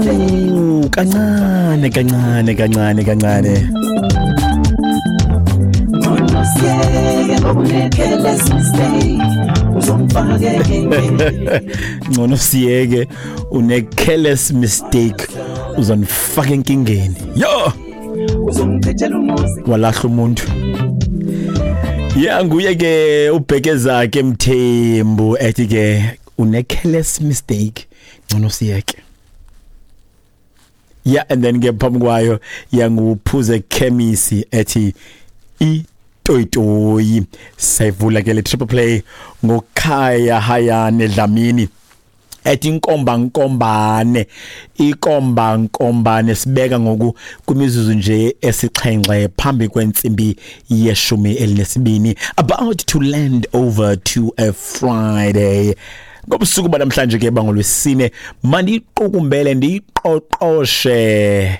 Phu, kancane kancane kancane kancane. Ngcono siyeke, une careless mistake uzonifaka enkingeni. Yo, walahla umuntu. Ya, nguye ke uBhekezakhe Mthembu ethi ke une careless mistake, ngcono siyeke. Yeah, and then ke phambi kwayo yanguPhuze Khemisi ethi itoyitoyi. Sayivula ke le triple play ngoKhaya Hayane Dlamini ethi inkomba nkombane, ikomba nkombane. Sibeka ngoku kwimizuzu nje esixhenxe phambi kwentsimbi ye-12, about to land over to a Friday. Ngobusuku banamhlanje ke bangolwesine, mandiyiqukumbele, ndiyiqoqoshe,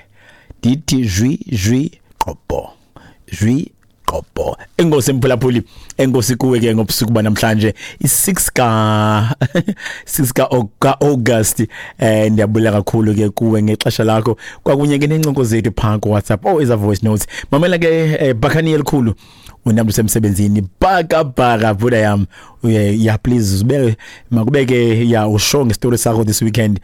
ndithi jwi jwi qobho jwi qobho. Enkosi mphulaphuli, enkosi kuwe ke ngobusuku banamhlanje, i-6 ka 6 ka August. Ndiyabulela kakhulu ke kuwe ngexesha lakho kwakunye ke nencoko zethu phaa ku WhatsApp. Oh, eza voice notes, mamela ke, bakhani elikhulu unamntu usemsebenzini, bhaka bhaka buda yam. Ya, please ube makube ke ya usho ngestory sakho this weekend,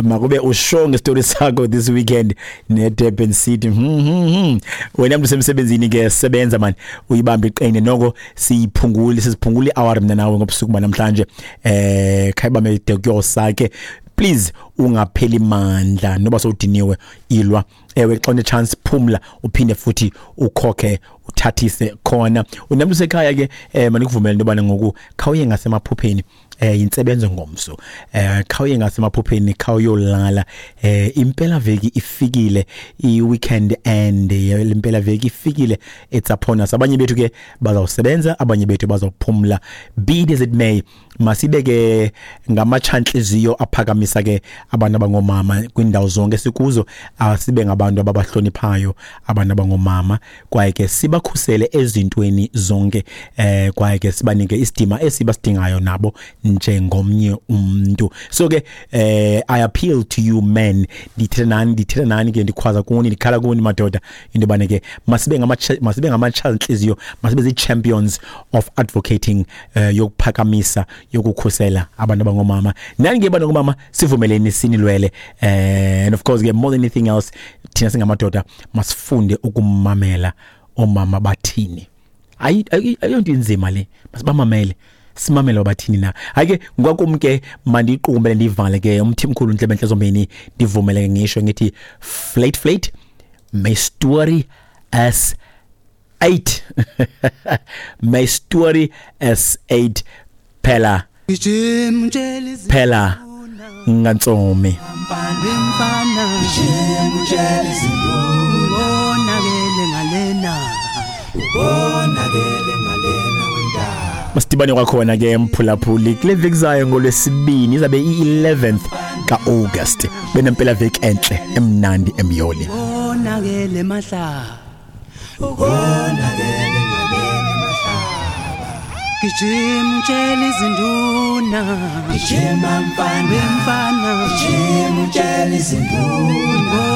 makube usho ngestory sakho this weekend ne Durban City. Wena mntu usemsebenzini ke, sebenza man, uyibambe iqine noko, siyiphungule, siziphungule hour mina nawe ngobusuku banamhlanje. Khayibambe de kuyosake, please ungapheli mandla noba sowudiniwe, ilwa. Ewe, xa une chance phumla, uphinde futhi ukhokhe, uthathise khona. Unamntu sekhaya ke, manikuvumele into yobana ngoku khawuye ngasemaphupheni, yintsebenzo ngomso, khawuye ngasemaphupheni, khawuyolala. Impela veki ifikile, i-weekend and impela veki ifikile, it's upon us. Abanye bethu ke bazawusebenza, abanye bethu bazawuphumla. Be it as it may, masibe ke ngamatshantliziyo aphakamisa ke abantu abangomama kwindawo zonke sikuzo. Asibe ngabantu ababahloniphayo abantu abangomama, kwaye ke sibakhusele ezintweni zonke, kwaye ke sibanike isidima esibasidingayo nabo njengomnye umuntu. So ke I appeal to you men, ndithetha nani, ndithetha nani ke, ndikhwaza kuni, ndikhala kuni madoda, into yobana ke masibe ngamatshantliziyo, masibe zii-champions of advocating, yokuphakamisa, yokukhusela abantu abangomama. Nani ke bantu abangomama, sivumeleni sinilwele. And of course ke, more than anything else, thina singamadoda masifunde ukumamela omama bathini. Ayonto inzima le, masibamamele, simamele bathini na. Hayi ke, ngwakum ke mandiyiqukumbele, ndiyivale ke umthimkhulu ntlebe zombini, ndivumele ngisho ngithi flat flat, my story is 8, my story is 8. Phela phela ngantsomi. Masidibane kwakhona ke mphulaphuli kule veki zayo ngolwesibini, izabe i-11th ka-August. Benempela veki entle, emnandi, emyoli. Ubonakele mahlaba, Ubonakele ngalena mahlaba. Gijima utshela izinduna. Gijima mfana. Mfana. Gijima utshela izinduna.